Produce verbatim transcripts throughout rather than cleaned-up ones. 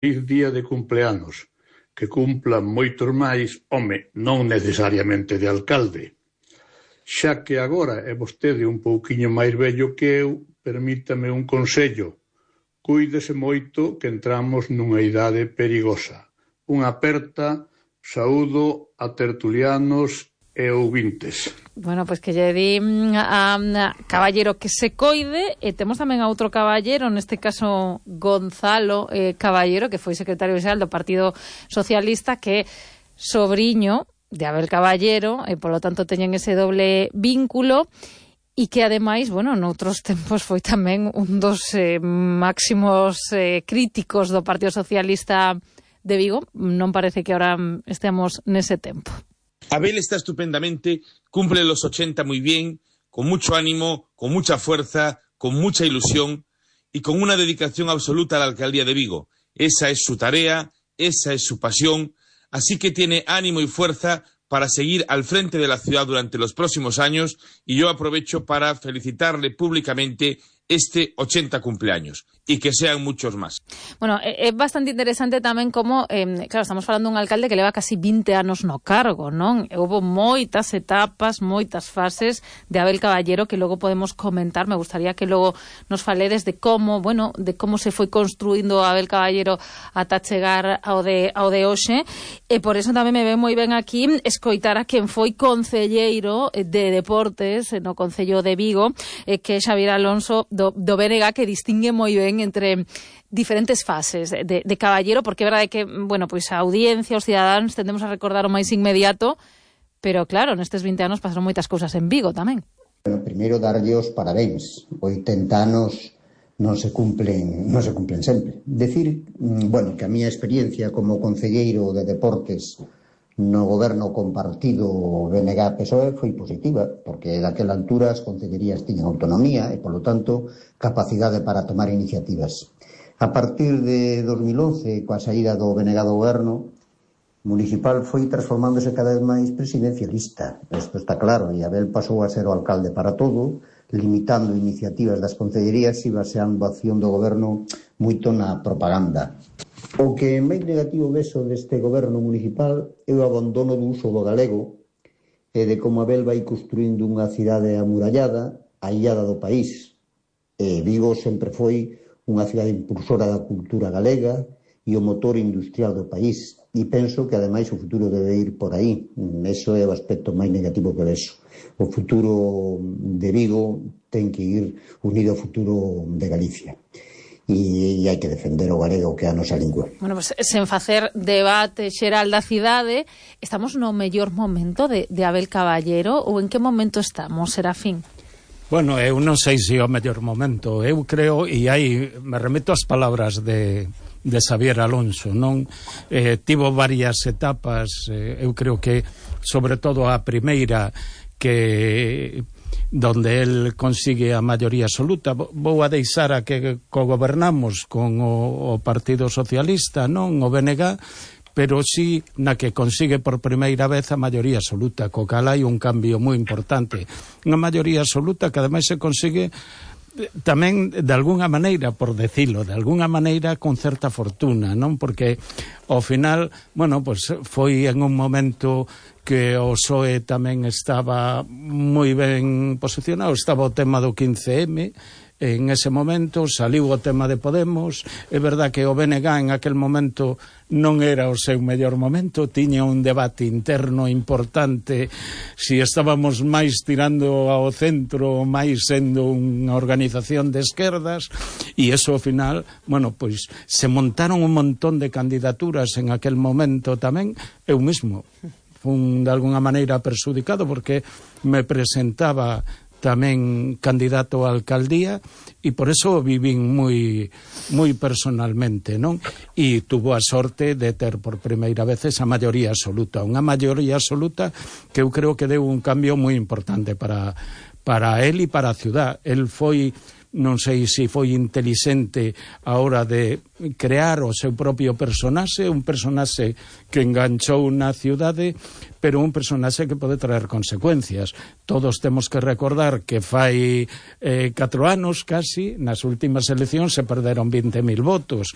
feliz día de cumpleanos, que cumplan moitos máis, home, non necesariamente de alcalde. Xa que agora é vostede un pouquiño máis vello que eu, permítame un consello. Cuídese moito que entramos nunha idade perigosa. Unha aperta saúdo a tertulianos e ouvintes. Bueno, pois pues que lle di a, a caballero que se coide, e temos tamén a outro caballero, neste caso Gonzalo eh, Caballero, que foi secretario xeral do Partido Socialista, que é sobriño de Abel Caballero, e polo tanto teñen ese doble vínculo, e que ademais, bueno, noutros tempos foi tamén un dos eh, máximos eh, críticos do Partido Socialista de Vigo. Non parece que ahora estemos nese tempo. Abel está estupendamente, cumple los ochenta muy bien, con mucho ánimo, con mucha fuerza, con mucha ilusión y con una dedicación absoluta a la alcaldía de Vigo. Esa es su tarea, esa es su pasión, así que tiene ánimo y fuerza para seguir al frente de la ciudad durante los próximos años, y yo aprovecho para felicitarle públicamente este ochenta cumpleaños, e que sean muchos máis. Bueno, é bastante interesante tamén como, eh, claro, estamos falando dun alcalde que leva casi vinte anos no cargo, non? Houbo moitas etapas, moitas fases de Abel Caballero que logo podemos comentar. Me gustaría que logo nos faledes de como, bueno, de como se foi construindo Abel Caballero ata chegar ao de, ao de hoxe, e por eso tamén me ve moi ben aquí escoitar a quen foi concelleiro de Deportes no Concello de Vigo, eh, que é Xavier Alonso do, do B N G, que distingue moi ben entre diferentes fases de, de Caballero, porque é verdade que, bueno, pois a audiencia, os cidadáns, tendemos a recordar o máis inmediato, pero claro, nestes vinte anos pasaron moitas cousas en Vigo tamén. Bueno, primeiro darlle os parabéns. oitenta anos non se cumplen, non se cumplen sempre. Decir, bueno, que a miña experiencia como concelleiro de Deportes no goberno compartido B N G P S O E foi positiva, porque daquela altura as concellerías tiñan autonomía e, polo tanto, capacidade para tomar iniciativas. A partir de dos mil once, coa saída do B N G do goberno municipal, foi transformándose cada vez máis presidencialista. Isto está claro, e Abel pasou a ser o alcalde para todo, limitando iniciativas das concellerías e baseando a acción do goberno moito na propaganda. O que máis negativo vexo deste goberno municipal é o abandono do uso do galego e de como Abel vai construindo unha cidade amurallada, aillada do país. E Vigo sempre foi unha cidade impulsora da cultura galega e o motor industrial do país. E penso que, ademais, o futuro debe ir por aí. Eso é o aspecto máis negativo que vexo. O futuro de Vigo ten que ir unido ao futuro de Galicia. E hai que defender o galego, que é a nosa lingua. Bueno, pues, sen facer debate xeral da cidade, estamos no mellor momento de, de Abel Caballero, ou en que momento estamos, Serafín? Bueno, eu non sei se é o mellor momento. Eu creo, e aí me remeto ás palabras de, de Xavier Alonso, non? Eh, tivo varias etapas, eh, eu creo que, sobre todo a primeira, que donde el consigue a maioría absoluta. Vou a deixar a que cogobernamos con o, o Partido Socialista, non o B N G, pero sí na que consigue por primeira vez a maioría absoluta, co cal hai un cambio moi importante. Unha maioría absoluta que ademais se consigue tamén de algunha maneira, por decilo, de algunha maneira con certa fortuna, non? Porque ao final, bueno, pues foi en un momento que o P S O E tamén estaba moi ben posicionado, estaba o tema do quince eme, en ese momento saliu o tema de Podemos. É verdad que o B N G en aquel momento non era o seu mellor momento, tiña un debate interno importante si estábamos máis tirando ao centro, máis sendo unha organización de esquerdas, e eso ao final, bueno, pois se montaron un montón de candidaturas en aquel momento tamén. Eu mesmo fun de alguna maneira perxudicado porque me presentaba tamén candidato a alcaldía, e por eso vivín moi moi personalmente, non? E tuvo a sorte de ter por primeira vez esa maioría absoluta, unha maioría absoluta que eu creo que deu un cambio moi importante para para él e para a ciudad. El foi, non sei se foi intelixente a hora de crear o seu propio personaxe, un personaxe que enganchou na ciudade, pero un personaxe que pode traer consecuencias. Todos temos que recordar que fai eh, catro anos casi, nas últimas eleccións se perderon vinte mil votos.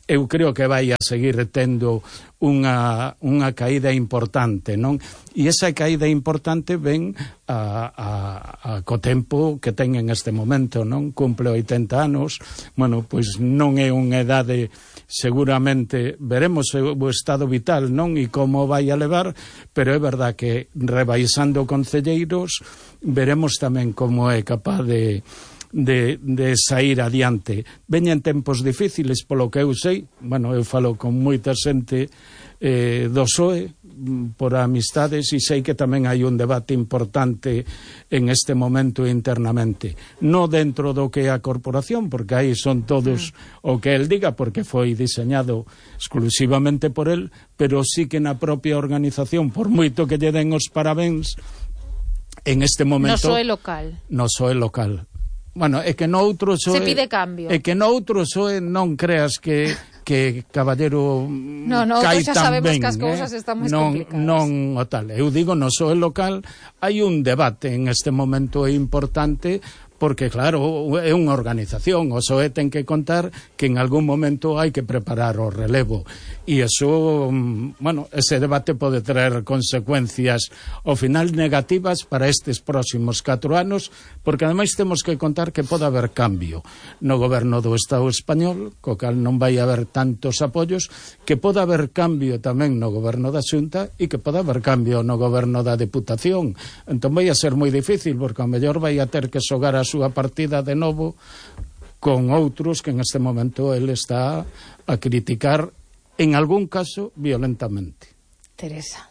eu creo que vai a seguir tendo unha, unha caída importante, non? E esa caída importante ven a, a, a co tempo que ten en este momento, non? Cumple oitenta anos, bueno, pois non é unha edade, seguramente veremos o estado vital, non? E como vai a levar, pero é verdad que rebaixando concelleiros veremos tamén como é capaz de De, de sair adiante. Veñen tempos difíciles, polo que eu sei, bueno, eu falo con moita xente eh, do P S O E por amistades, e sei que tamén hai un debate importante en este momento internamente, no dentro do que é a corporación, porque aí son todos o que el diga, porque foi diseñado exclusivamente por el, pero sí que na propia organización, por moito que lle den os parabéns, en este momento no P S O E local no P S O E local Bueno, é que noutro P S O E... Se pide cambio. É que noutro P S O E non creas que que Caballero no, no, cai xa tan sabemos ben, que as cousas eh? están máis non, complicadas. Non o tal. Eu digo, no P S O E local hai un debate en este momento importante, porque claro, é unha organización, o P S O E ten que contar que en algún momento hai que preparar o relevo, e eso, bueno, ese debate pode traer consecuencias ao final negativas para estes próximos catro anos, porque ademais temos que contar que pode haber cambio no goberno do Estado español, co cal non vai haber tantos apoios, que pode haber cambio tamén no goberno da Xunta e que pode haber cambio no goberno da Deputación. Entón vai a ser moi difícil, porque ao mellor vai a ter que xogar a súa partida de novo con outros que en este momento ele está a criticar, en algún caso violentamente. Teresa.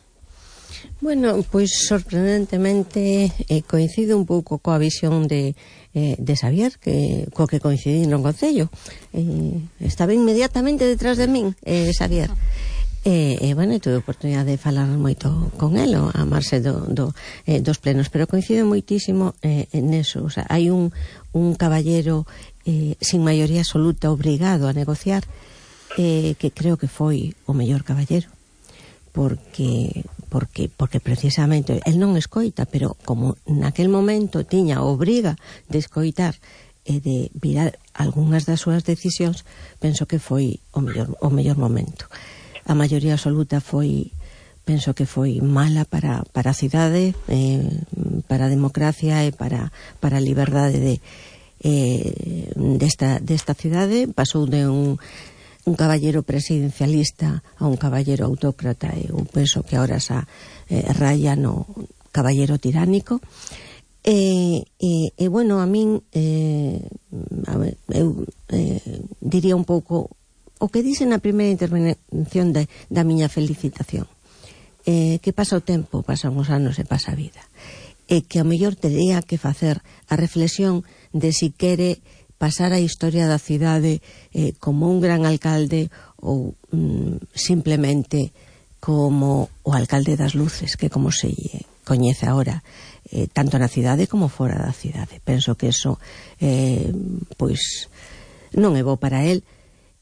Bueno, pois sorprendentemente eh, coincido un pouco coa visión de, eh, de Xavier, que, co que coincidí no Concello. Eh, estaba inmediatamente detrás de min, eh, Xavier. E, eh, bueno, tuve a oportunidade de falar moito con el, a marxe do, do, eh, dos plenos, pero coincido moitísimo eh, en eso. O sea, hai un, un caballero eh, sin maioría absoluta obrigado a negociar, eh, que creo que foi o mellor caballero, porque porque porque precisamente el non escoita, pero como naquel momento tiña obriga de escoitar e de virar algunhas das súas decisións, penso que foi o mellor, o mellor momento. A maioría absoluta foi, penso que foi mala para, para a cidade, eh, para a democracia e para, para a liberdade de, eh, desta, desta cidade. Pasou de un, un caballero presidencialista a un caballero autócrata, e eu penso que agora xa eh, raya no caballero tiránico. E, e, e bueno, a min eh, a ver, eu eh, diría un pouco o que dice na primeira intervención de, da miña felicitación, eh, que pasa o tempo, pasan os anos e pasa a vida, e que ao mellor tería que facer a reflexión de si quere pasar a historia da cidade eh, como un gran alcalde ou mm, simplemente como o alcalde das luces, que como se coñece agora, eh, tanto na cidade como fora da cidade. Penso que eso eh, pois non é bo para el.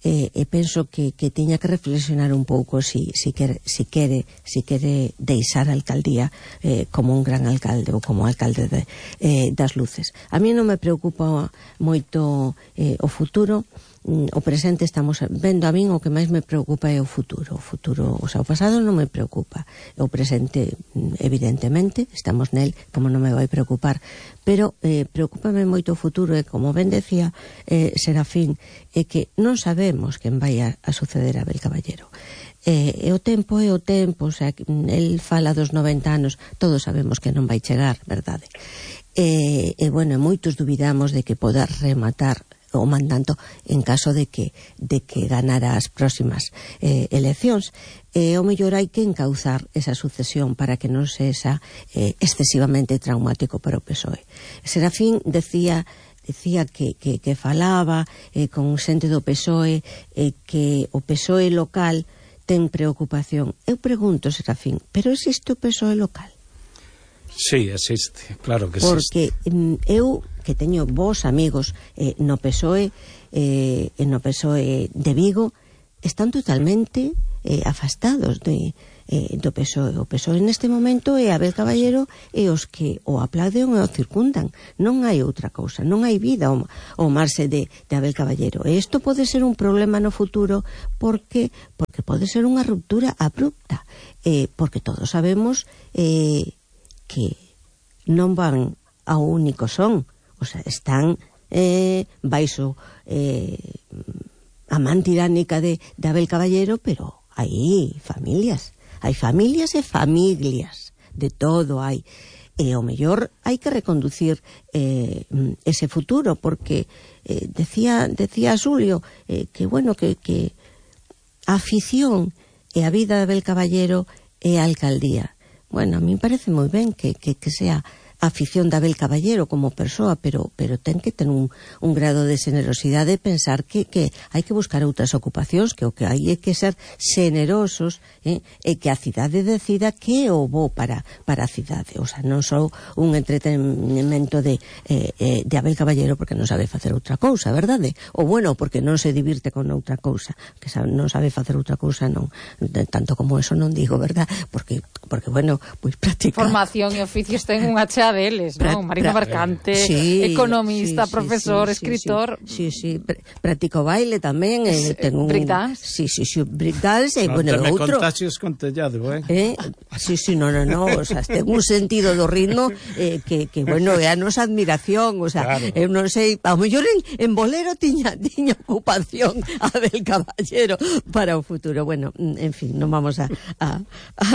E, e penso que, que tiña que reflexionar un pouco si, si, quere, si, quere, si quere deixar a alcaldía eh, como un gran alcalde ou como alcalde de, eh, das luces. A mí non me preocupa moito eh, o futuro. O presente estamos vendo, a min o que máis me preocupa é o futuro. O futuro, o sea, o pasado non me preocupa. O presente, evidentemente, estamos nel, como non me vai preocupar. Pero eh, preocúpame moito o futuro, e como ben decía eh, Serafín, é que non sabemos quen vai a, a suceder a Abel Caballero. E, e o tempo é o tempo, o sea, el fala dos noventa anos, todos sabemos que non vai chegar, verdade? E, e bueno, moitos dubidamos de que poda rematar o mandato en caso de que de que ganara as próximas eh, eleccións. E o mellor hai que encauzar esa sucesión para que non sexa eh, excesivamente traumático para o P S O E. Serafín decía decía que, que, que falaba eh, con xente do P S O E, eh, que o P S O E local ten preocupación. Eu pregunto, Serafín, pero existe o P S O E local? Sí, existe, claro que porque existe. Porque eu, que teño vos amigos eh, no P S O E, eh, no P S O E de Vigo, están totalmente eh, afastados de eh, do P S O E. O P S O E neste momento é Abel Caballero e os que o aplauden e o circundan. Non hai outra cousa, non hai vida ao, ao marxe de, de Abel Caballero. E isto pode ser un problema no futuro porque porque pode ser unha ruptura abrupta, eh, porque todos sabemos eh, que non van ao único son, o sea, están eh, baixo eh, a man tiránica de, de Abel Caballero, pero hai familias. Hai familias e familias, de todo hai. E ao mellor hai que reconducir eh, ese futuro, porque eh, decía decía Xulio eh, que, bueno, que, que a afición e a vida de Abel Caballero é a alcaldía. Bueno, a mí me parece moi ben que, que, que sea a afición de Abel Caballero como persoa, pero pero ten que ter un, un grado de generosidade, pensar que, que hai que buscar outras ocupacións, que o que hai é que ser generosos, eh, e que a cidade decida que é o bo para, para a cidade. O sea, non só un entretenimento de, eh, eh, de Abel Caballero porque non sabe facer outra cousa, verdade? Ou bueno, porque non se divirte con outra cousa, que sabe, non sabe facer outra cousa, non, de, tanto como eso non digo, verdad? Porque, porque bueno, pois pues, practicar formación e oficios ten unha chea deles, non? Marino Mercante, sí, economista, sí, sí, profesor, sí, sí, escritor. Sí, sí, sí. Practico baile tamén, eh, ten un breakdance. Sí, sí, sí, breakdance, e no, bueno, me outro. Contagios con tellado, eh? eh? Sí, sí, no, no, no, o sea, ten un sentido do ritmo eh, que, que bueno, é a nosa admiración, o sea, claro. Eu non sei, ao mellor en, en bolero tiña, tiña ocupación Abel Caballero para o futuro. Bueno, en fin, non vamos a, a, a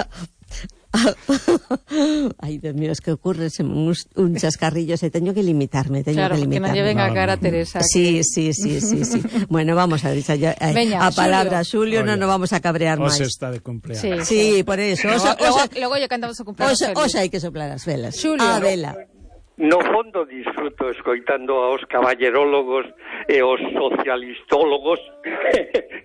ay, Dios mío, es que ocurre un, un chascarrillo, se teño que limitarme, teño claro, que limitarme. Que non lleven a cara a Teresa. Sí, sí, sí, sí, sí. Bueno, vamos a ver, ya, eh, Veña, a palabra Xulio, non nos vamos a cabrear máis. Ose está de cumpleaños. Sí, sí, por eso. Osa, logo, osa, logo lle cantamos o cumpleaños. Osa, osa hai que soplar as velas. Xulio. A vela. No fondo disfruto escoitando aos caballerólogos e aos socialistólogos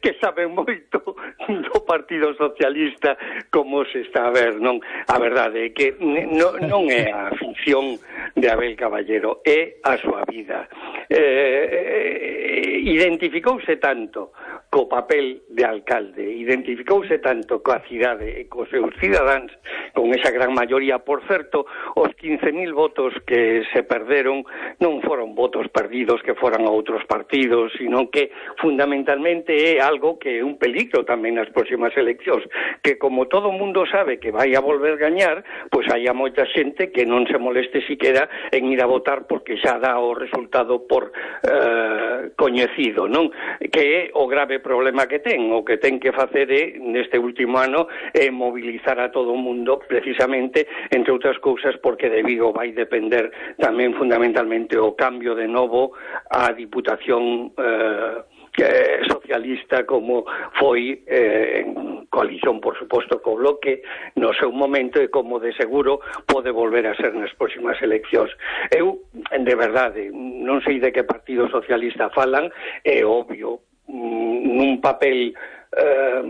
que saben moito do Partido Socialista como se está a ver, non? A verdade é que non, non é a ficción de Abel Caballero, é a súa vida. Eh, identificouse tanto co papel de alcalde, identificouse tanto coa cidade e cos seus cidadáns, con esa gran maioría. Por certo, os quince mil votos que se perderon non foron votos perdidos que foran a outros partidos, sino que fundamentalmente é algo que é un peligro tamén nas próximas eleccións, que como todo o mundo sabe que vai a volver gañar, pois hai a moita xente que non se moleste siquera en ir a votar porque xa dá o resultado por eh, coñecido, non? Que é o grave problema que ten, o que ten que facer é, neste último ano, é mobilizar a todo o mundo precisamente, entre outras cousas, porque de Vigo vai depender tamén fundamentalmente o cambio de novo á Diputación eh, que socialista como foi eh, en coalición, por suposto, co Bloque no seu momento e como de seguro pode volver a ser nas próximas eleccións. Eu, de verdade, non sei de que Partido Socialista falan, é obvio, nun papel eh,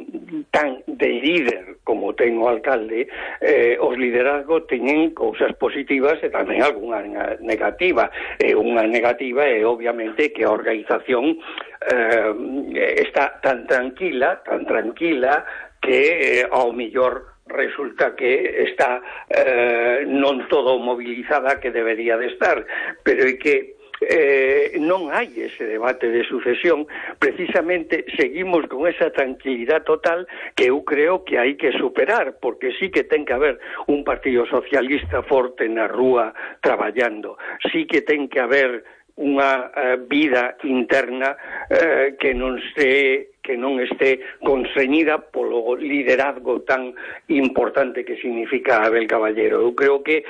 tan de líder como ten o alcalde, eh, os liderazgos teñen cousas positivas e tamén algunha negativa. E unha negativa é obviamente que a organización eh, está tan tranquila, tan tranquila que eh, ao millor resulta que está eh, non todo mobilizada que debería de estar, pero é que Eh, non hai ese debate de sucesión. Precisamente seguimos con esa tranquilidade total que eu creo que hai que superar, porque sí que ten que haber un Partido Socialista forte na rúa traballando, sí que ten que haber unha uh, vida interna uh, que non se que non este constreñida polo liderazgo tan importante que significa Abel Caballero. Eu creo que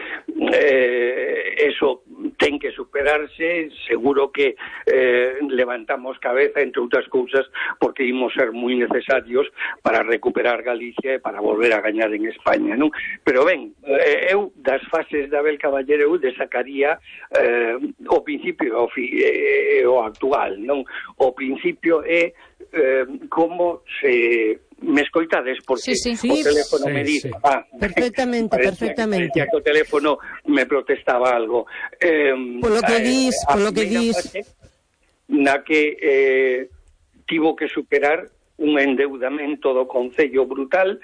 eh, eso ten que superarse, seguro que eh, levantamos cabeza, entre outras cousas, porque imos ser moi necesarios para recuperar Galicia e para volver a gañar en España, non? Pero ben, eh, eu das fases de Abel Caballero eu desacaría eh, o principio o, fi, eh, o actual, non? O principio é Eh, como se me escoitades, porque sí, sí, o sí. teléfono sí, me dice sí. ah, perfectamente, parecía, perfectamente parecía que o teléfono me protestaba algo eh, polo que eh, dis, polo que dis fase, na que eh, tivo que superar un endeudamento do Concello brutal.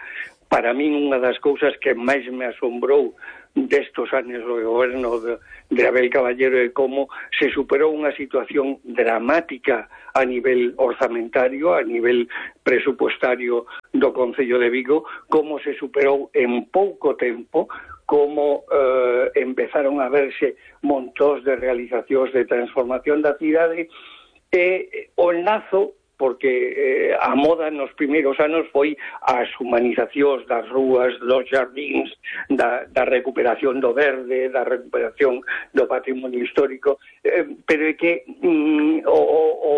Para min, unha das cousas que máis me asombrou destos anos do goberno de, de Abel Caballero é como se superou unha situación dramática a nivel orzamentario, a nivel presupuestario do Concello de Vigo, como se superou en pouco tempo, como eh, empezaron a verse montóns de realizacións de transformación da cidade, e o enlazo, porque eh, a moda nos primeiros anos foi as humanizacións das rúas, dos jardíns, da, da recuperación do verde, da recuperación do patrimonio histórico, eh, pero é que mm, o, o,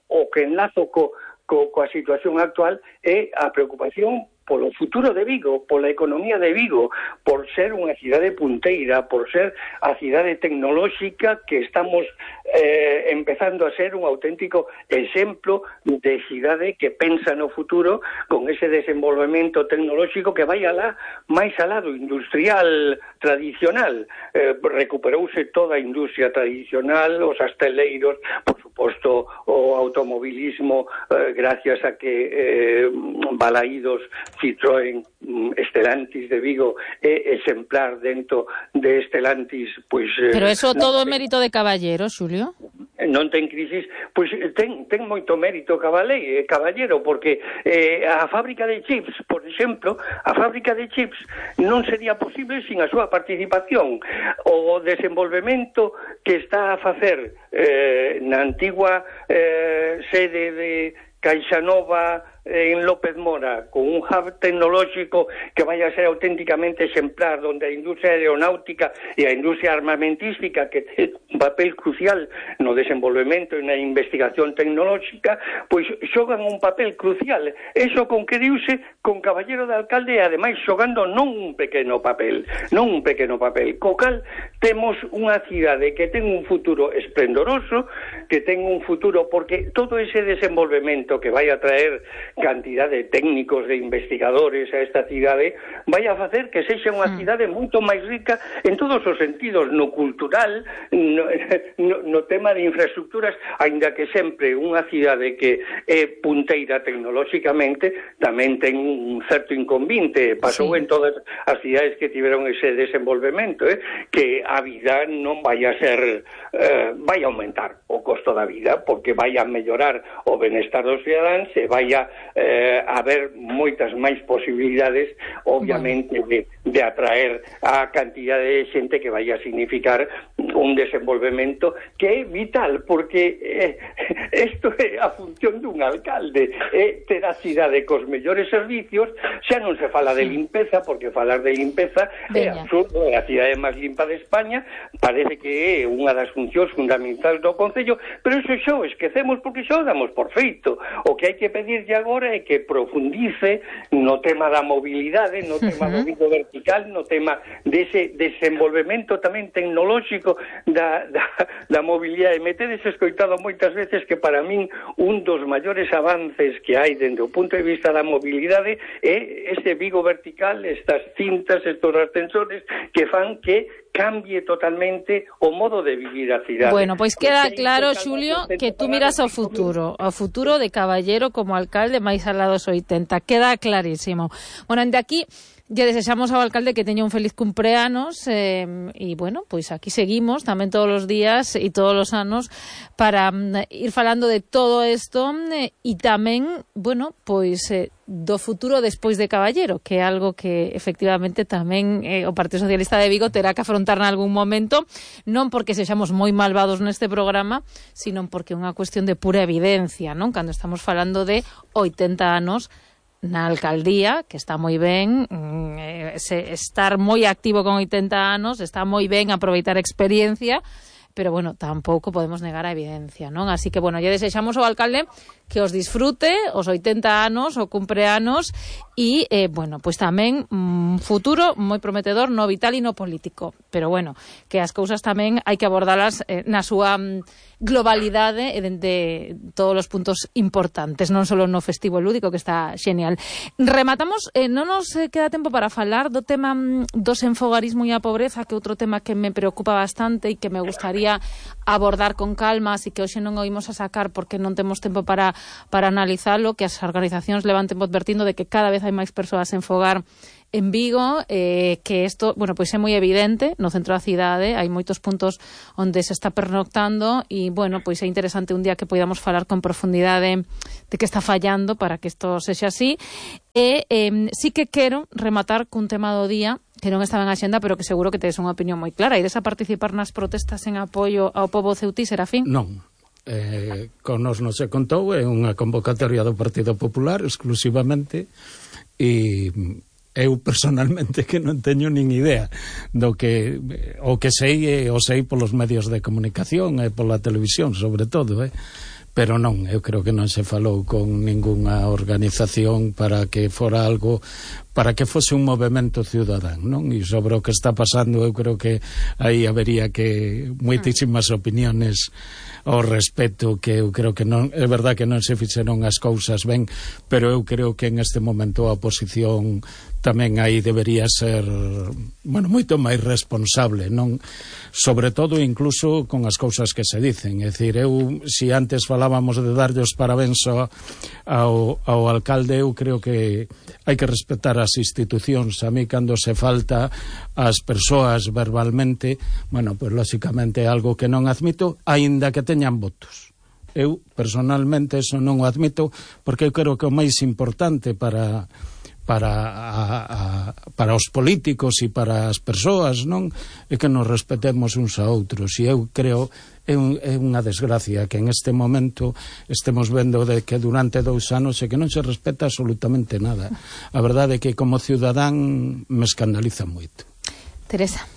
o que enlazo co, co, coa situación actual é a preocupación polo futuro de Vigo, pola economía de Vigo, por ser unha cidade punteira, por ser a cidade tecnolóxica que estamos eh, empezando a ser un auténtico exemplo de cidade que pensa no futuro con ese desenvolvemento tecnolóxico que vai alá, máis alá do industrial tradicional. Eh, recuperouse toda a industria tradicional, os asteleiros, por suposto o automobilismo, eh, gracias a que eh, Balaídos, Citroën, Stellantis de Vigo é exemplar dentro de Stellantis, pois... Pero eso todo é mérito de Caballero, Xulio? Non ten crisis, pois ten, ten moito mérito Caballero, Caballero porque eh, a fábrica de chips, por exemplo, a fábrica de chips non sería posible sin a súa participación. O desenvolvemento que está a facer eh, na antigua eh, sede de Caixanova en López Mora, con un hub tecnolóxico que vai a ser auténticamente exemplar, onde a industria aeronáutica e a industria armamentística, que ten un papel crucial no desenvolvemento e na investigación tecnolóxica, pois xogan un papel crucial. Eso conqueriuse con Caballero de alcalde, e ademais xogando non un pequeno papel, non un pequeno papel. Co cal temos unha cidade que ten un futuro esplendoroso, que ten un futuro, porque todo ese desenvolvemento que vai a traer cantidad de técnicos, de investigadores a esta cidade, vai a facer que sexa unha cidade moito máis rica en todos os sentidos, no cultural, no, no, no tema de infraestructuras, aínda que sempre unha cidade que é punteira tecnolóxicamente tamén ten un certo inconvinte. Pasou sí. en todas as cidades que tiveron ese desenvolvemento, eh, que a vida non vai a ser, eh, vai a aumentar o costo da vida, porque vai a mellorar o benestar dos cidadáns e vai a eh, haber moitas máis posibilidades, obviamente, de, de atraer a cantidad de xente que vai a significar un desenvolvemento que é vital, porque eh, isto é a función dun alcalde, é ter a cidade cos mellores servicios. Xa non se fala de limpeza, porque falar de limpeza é absurdo, é a cidade máis limpa de España, parece que é unha das funcións fundamentais do Concello, pero iso xa o esquecemos porque xa o damos por feito. O que hai que pedirlle agora é que profundice no tema da mobilidade, no tema do Vigo vertical, no tema dese desenvolvemento tamén tecnolóxico da, da, da mobilidade. Me tedes escoitado moitas veces que para min un dos maiores avances que hai dentro do punto de vista da mobilidade é este Vigo vertical, estas cintas, estos ascensores que fan que cambie totalmente o modo de vivir a cidade. Bueno, pois queda claro, Xulio, que tú miras ao futuro, ao futuro de Caballero como alcalde máis alá dos oitenta. Queda clarísimo. Bueno, de aquí lle desexamos ao alcalde que teña un feliz cumpleanos e, eh, bueno, pois aquí seguimos tamén todos os días e todos os anos para um, ir falando de todo isto e eh, tamén, bueno, pois eh, do futuro despois de Caballero, que é algo que efectivamente tamén eh, o Partido Socialista de Vigo terá que afrontar en algún momento, non porque sexamos moi malvados neste programa, sino porque é unha cuestión de pura evidencia, non? Cando estamos falando de oitenta anos na alcaldía, que está moi ben, eh, se, estar moi activo con oitenta anos, está moi ben aproveitar experiencia, pero, bueno, tampouco podemos negar a evidencia, non? Así que, bueno, lle desexamos ao alcalde que os disfrute os oitenta anos, o cumpleanos, e, eh, bueno, pois tamén un mm, futuro moi prometedor no vital e no político. Pero, bueno, que as cousas tamén hai que abordalas eh, na súa mm, globalidade e dende todos os puntos importantes, non só no festivo lúdico, que está xenial. Rematamos, eh, non nos queda tempo para falar do tema mm, do senfogarismo e a pobreza, que é outro tema que me preocupa bastante e que me gustaría gustaría abordar con calma, así que hoxe non o imos a sacar porque non temos tempo para, para analizalo, que as organizacións levan tempo advertindo de que cada vez hai máis persoas en fogar en Vigo, eh, que isto, bueno, pois é moi evidente, no centro da cidade, hai moitos puntos onde se está pernoctando e, bueno, pois é interesante un día que podamos falar con profundidade de que está fallando para que isto sexa así. E eh, sí que quero rematar cun tema do día que non estaba en axenda, pero que seguro que tedes unha opinión moi clara. Ides a participar nas protestas en apoio ao pobo ceutí, Serafín? Non. Eh, con nos non se contou, é unha convocatoria do Partido Popular exclusivamente, e eu personalmente que non teño nin idea do que o que sei, o sei polos medios de comunicación e pola televisión sobre todo, eh? Pero non, eu creo que non se falou con ningunha organización para que fora algo, para que fose un movemento ciudadán, non? E sobre o que está pasando eu creo que aí habería que moitísimas opiniones ao respecto, que eu creo que non, é verdad que non se fixeron as cousas ben, pero eu creo que en este momento a oposición tamén aí debería ser, bueno, moito máis responsable, non? Sobre todo incluso con as cousas que se dicen, é dicir, eu, si antes falábamos de darlle os parabéns ao, ao, ao alcalde, eu creo que hai que respetar as institucións. A mí, cando se falta as persoas verbalmente, bueno, pois pues, lóxicamente é algo que non admito, aínda que teñan votos. Eu, personalmente, eso non o admito, porque eu creo que o máis importante para para a, a, para os políticos e para as persoas, non, é que nos respetemos uns a outros. E eu creo é, un, é unha desgracia que en este momento estemos vendo de que durante dous anos é que non se respeta absolutamente nada. A verdade é que como ciudadán me escandaliza moito. Teresa.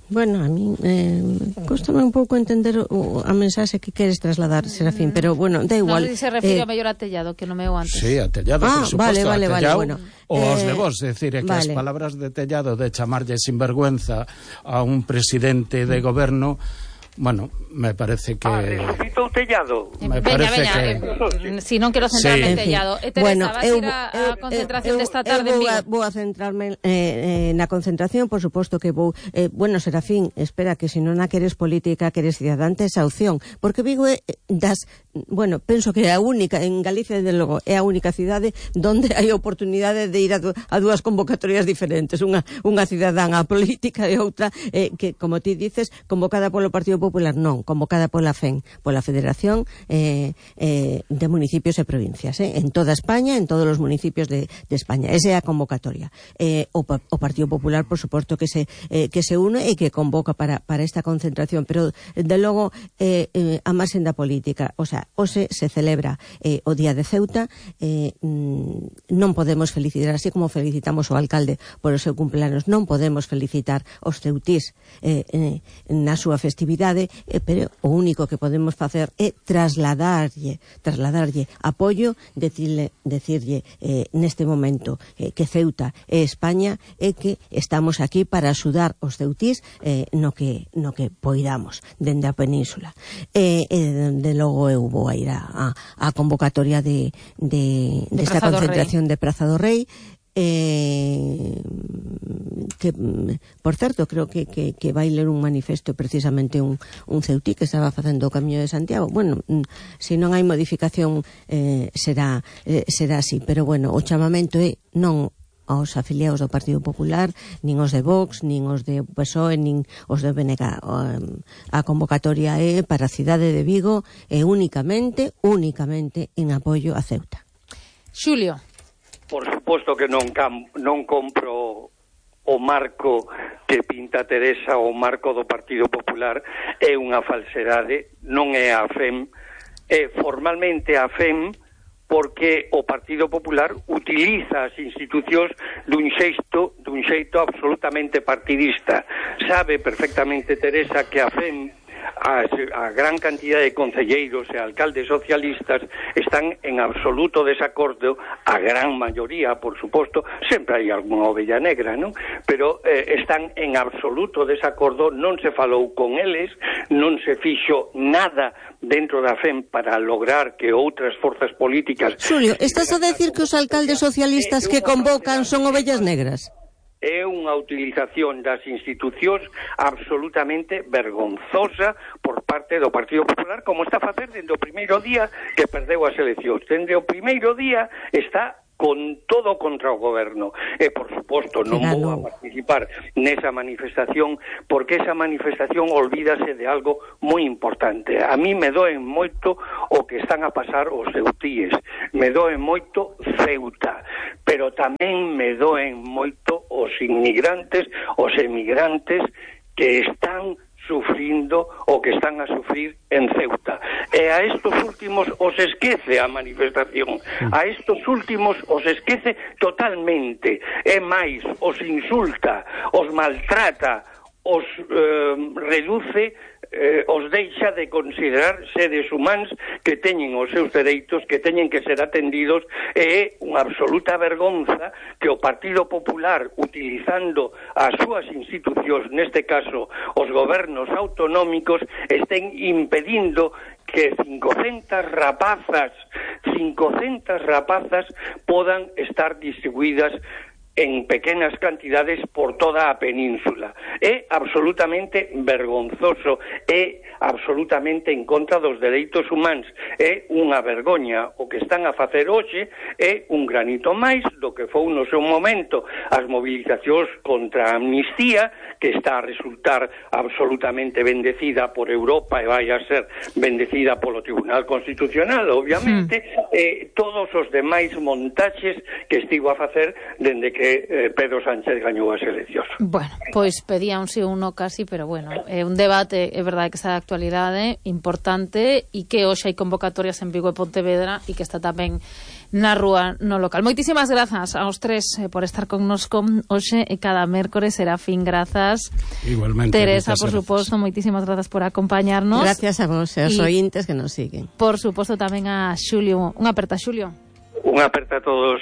Bueno, a mí eh, costame un pouco entender o, a mensaxe que queres trasladar, Serafín, pero bueno, da igual. Non se refire eh, a mellor a Tellado, que non me o antes. Sí, a Tellado, ah, por suposto, vale, vale, a Tellado, vale, bueno. O eh, os de vos, é dicir, é que vale. As palabras de Tellado de chamarlle sinvergüenza a un presidente de goberno, bueno, me parece que... Ah, resucitou Tellado. Veña, Me parece veña, que... eh, si non quero centrarme sí. en Tellado. E Teresa, bueno, vas eu, ir a, a concentración eu, desta tarde eu en vou a, Vigo? vou a centrarme eh, eh, na concentración, por suposto que vou... Eh, bueno, Serafín, espera, que se non a queres política, queres ciudadante, esa opción. Porque Vigo é das... Bueno, penso que é a única, en Galicia, desde logo, é a única cidade donde hai oportunidade de ir a, du a dúas convocatorias diferentes. Unha, unha cidadana política e outra eh, que, como ti dices, convocada polo Partido Popular, non, convocada pola F E N, pola Federación eh, eh, de Municipios e Provincias, eh, en toda España, en todos os municipios de, de España. Esa é a convocatoria. Eh, o, o Partido Popular, por suposto, que se, eh, que se une e que convoca para, para esta concentración, pero, de logo, eh, eh, a marxen da política, o sea, hoxe se celebra eh, o Día de Ceuta, eh, non podemos felicitar, así como felicitamos o alcalde por o seu cumpleaños, non podemos felicitar os ceutís eh, eh, na súa festividade, eh, pero o único que podemos facer é trasladarlle, trasladarlle apoio, decirle, decirlle eh, neste momento eh, que Ceuta e España é que estamos aquí para axudar os ceutís eh, no que no que poidamos dende a península. E eh, de logo eu vou a ir a, a, a convocatoria de, de, de, de esta concentración de Praza do Rei, eh, que, por certo, creo que, que, que vai ler un manifesto precisamente un, un ceutí que estaba facendo o Camiño de Santiago. Bueno, se non hai modificación eh, será, eh, será así, pero bueno, o chamamento é non aos afiliados do Partido Popular, nin os de Vox, nin os de P S O E, nin os de B N G. A convocatoria é para a cidade de Vigo e únicamente, únicamente en apoio a Ceuta. Xulio. Por suposto que non, cam, non compro o marco que pinta Teresa, o marco do Partido Popular, é unha falsedade, non é a F E M, é formalmente a F E M, porque o Partido Popular utiliza as institucións dun xeito, dun xeito absolutamente partidista. Sabe perfectamente Teresa que a F E M, a, a gran cantidad de concelleiros e alcaldes socialistas están en absoluto desacordo, a gran maioría, por suposto, sempre hai algunha ovella negra, non? Pero eh, están en absoluto desacordo, non se falou con eles, non se fixo nada dentro da F E M para lograr que outras forzas políticas... Xulio, estás a decir que os alcaldes socialistas que convocan son ovellas negras? é unha utilización das institucións absolutamente vergonzosa por parte do Partido Popular, como está a facer dende o primeiro día que perdeu as eleccións. Dende o primeiro día está con todo contra o goberno. E, por suposto, non vou a participar nesa manifestación, porque esa manifestación olvídase de algo moi importante. A mí me doen moito o que están a pasar os ceutíes, me doen moito Ceuta, pero tamén me doen moito os inmigrantes, os emigrantes que están sufrindo o que están a sufrir en Ceuta. E a estos últimos os esquece a manifestación, a estos últimos os esquece totalmente, e máis, os insulta, os maltrata, os eh, reduce, eh, os deixa de considerar seres humanos que teñen os seus dereitos, que teñen que ser atendidos. E é unha absoluta vergonza que o Partido Popular, utilizando as súas institucións, neste caso os gobernos autonómicos, estén impedindo que cincocentas rapazas, cincocentas rapazas podan estar distribuídas en pequenas cantidades por toda a península. É absolutamente vergonzoso, é absolutamente en contra dos dereitos humanos. É unha vergoña o que están a facer hoxe, é un granito máis do que foi no seu momento as movilizacións contra a amnistía, que está a resultar absolutamente bendecida por Europa e vai a ser bendecida polo Tribunal Constitucional, obviamente, mm. e todos os demais montaxes que estivo a facer dende que eh, Pedro Sánchez gañou as eleccións. Bueno, pois pedía un sí ou un no casi, pero bueno, é un debate, é verdade que está de actualidade, importante, e que hoxe hai convocatorias en Vigo e Pontevedra e que está tamén na rúa no local. Moitísimas grazas aos tres eh, por estar connosco hoxe e cada mércores. Serafín, grazas. Igualmente. Teresa, por suposto, moitísimas grazas por acompañarnos. Gracias a vos e aos ointes que nos siguen. Por suposto tamén a Xulio. Unha aperta, Xulio. Unha aperta a todos.